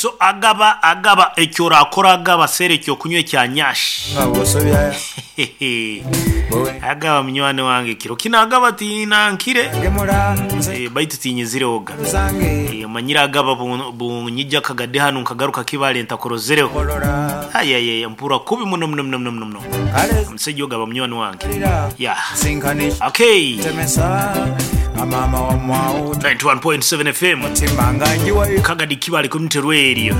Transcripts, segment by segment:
So agaba agaba eki orakora agaba seera ekyokunywa ekya nyash. Agaba munywani wange kiro kinu agaba tinankire baitu tinyizirehoga. Omanyire agaba bunyija kagade hanu nkagaruka Kibale ntakurozereho. Ayayaya mpurra kubi muno muno muno muno muno. Omusaija ogu aba munywani wange. Yeah. Okay. 91.7 FM. Kagadi Kibale Community Radio.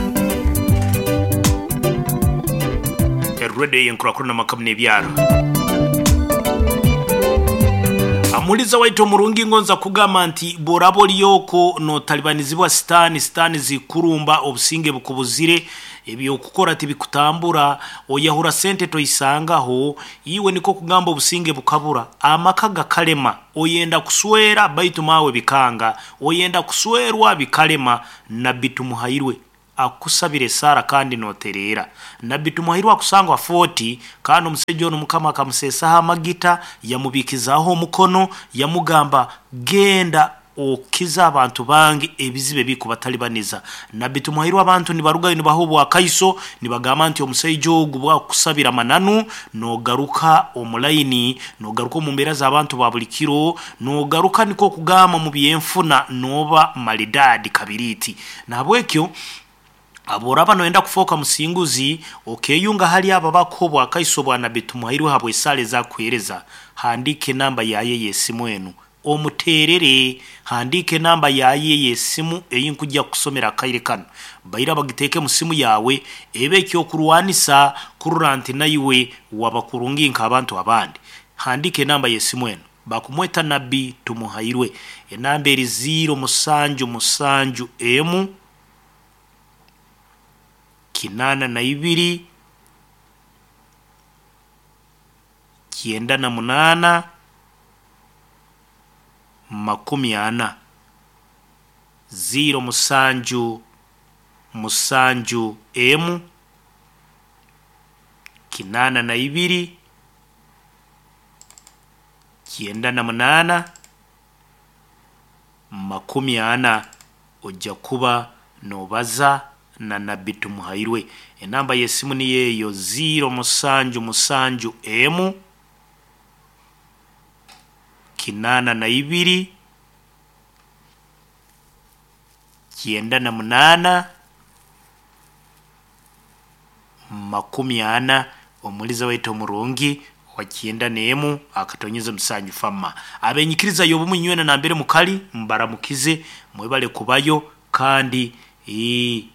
Radio y'enkurakurana amaka n'ebyaro. Amuliza waitu omurungi ngonza kugamba nti bworaba ori okwo notalibanizibwa sitaani, sitaani zikurumba obusinge bukubuzire, Eby'okukora tibikutambura, oyahura sente toisangaho, iwe nikwo kugamba obusinge bukabura, amaka gakalema, oyenda kuswera baitu maawe bikanga, oyenda kuswerwa bikalema. Nabbi Tumuhairwe akukusabira esaara kandi notereera. Nabbi Tumuhairwe akusangwa Fort kandi omusaija onu Mukama akamuseesaho amagita, yamubiikizaaho omukono, yamugamba genda Okize abantu bange ebizibu ebikubatalibaniza. Nabbi Tumuhairwe abantu nibarugayo nibaha obwakaiso nibagamba nti omusaija ogu bwakukusabira amananu nogaruka omu layini, nogaruka omu mbeera z'abantu ba buli kiro, nogaruka nikwo kugamba omu by'enfuna noba malidaadi kabiriiti. Nahabwekyo Obworaaba noyenda kufooka musinguzi, okeyunga hali abo abakuha obwakaiso bwa Nabbi Tumuhairwe habw'esaara ez'akuheereza, handiika enamba yaye ey'esimu enu omuteerere. Handiika enamba yaye ey'esimu ei nkugya kukusomera akaire kanu. Baira bagiteeke mu simu yaawe ebe eky'okurwanisa kurora nti naiwe waba kurungi nk'abantu abandi. Handiika enamba y'esimu enu. Bakumweta Nabbi Tumuhairwe. Enamba eri ziiro musanju musanju emu. Kinaana na ibiri, kyenda na munaana, makumi ana. Ziiro musanju musanju emu, kinaana na ibiri, kyenda na munaana. 40 oja kuba nobaza na Nabbi Tumuhairwe. Enamba y'esimu niyo eyo ziiro musanju musanju emu, 82, 98, 40. Omuliza waitu omurungi owa 91 akatonyeza musanju Famma. Abenyikiriza y'obumu inywena nambere mukali mbaramukize, mwebale kubayo kandi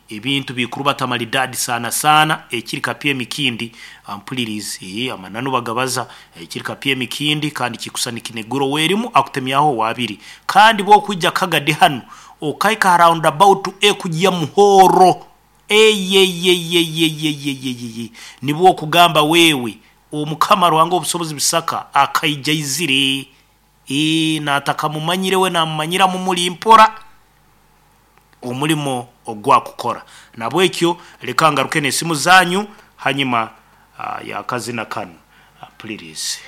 ebintu bikurubata maridadi sana sana ekiri kapya emikindi mpulirizi amananu bagabaza ekiri kapya emikindi kandi kikusana nikinegura owerimu akutemyaho owabiri kandi bwokwija Kagadi hanu okahika ha round about ekugya Muhoro Eyeyeyeyeyeyeyeye nibwo okugamba wewe Omukama Ruhanga Owobusobozi Bisaka akaija aizire ee natakamumanyire we namumanyira mumuri mpora omurimo ogwakukora. Nabwekyo leka ngaruke nesimu zanyu hanyima yakazina kanu. Mpulirize.